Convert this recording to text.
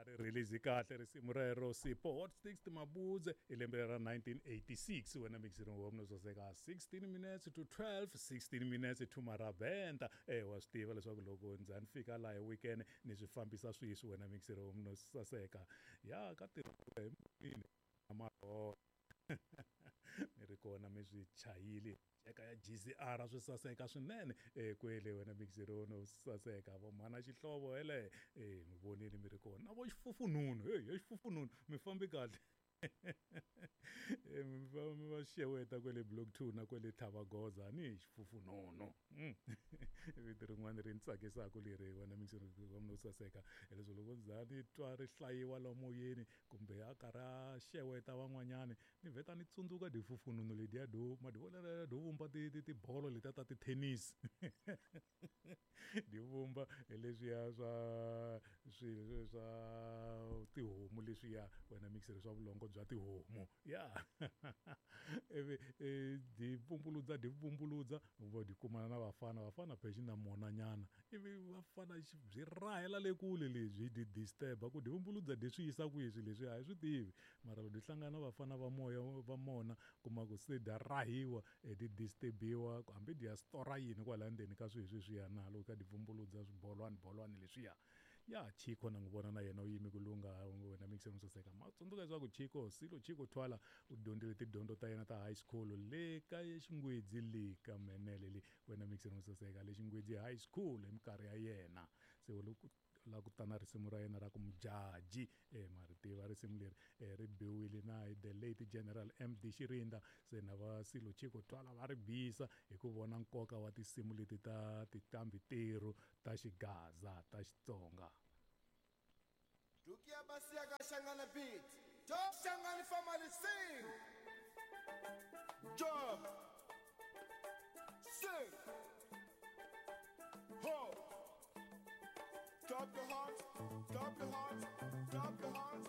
Ri release kahle risimu rero Sipho Hot Sticks Mabudze hi lembe ra 1986 wena mixini wa mina soseka 16 minutes to 12 16 minutes to marabenta eh wa swi tiva leswaku loko ndza ni fika laha hi weekend ni swi fambisa swiswi wena mixini wa mina saseka ya ka tirha hi marho mi ri kona mi swi chayile eka ya GCR swi saseka swinene kwele wena mixerono saseka vo mhana xihlovo hele mi vonile mi ri kona na vo xifufununu hey he xifufununu mi fambi kahle mi va xeweta kwele block 2 na kwele tlhavagoza ni hi xifufununu vito rin'wana ri ni tsakisaka leri wena mixero wa mina saseka hileswo loko ndza ni twa ri hlayiwa la moyeni kumbe a karhi a xeweta van'wanyani ni vheta ni tsundzuka difufununu letiya do madivolera do vumba tibolo letiya ta tithenisi di vumba hi leswiya swa swilo swa tihomu leswiya wena mixere swa vulongo bya tihomu ya ivi di vumbuludza di vumbuludza vo di kumana na vafana vafana phexi na monanyana ivi vafana byi rahela le kule lebyi di disturb ku di vumbuludza di swi yisa kwihi swilo leswi a hi swi tivi mara loko di hlangana na vafana va moya va mona kuma ku se dya rahiwa di disturbiwa hambi dya stora yini kwala ndzeni ka swilo sweswiya na loko ka di vumbuludza swibolwani bolwani leswiya ya Chico na n'wi vona na yena u yime ku lungha wena mixer saseka ma tsundzuka leswaku Chico Silo Chico Twala u dyondzile tidyondzo ta yena ta high school le ka Xingwedzi le ka Menele le wena mixer saseka le Xingwedzi high school hi minkarhi ya yena se loko la ku tana risimu ra yena ra ku mujaji ma ri tiva risimu leri ri biwile na hi the late General MD Xirinda se na va Silo Chico Twala va ri bisa hi ku vona nkoka wa tinsimu leti ta tinqambi terhu ta xigaza ta Xitsonga. Dukia Basiaga Shangana beat. Job Shangani family sing. Job. Sing. Ho. Clap your hands. Clap your hands. Clap your hands.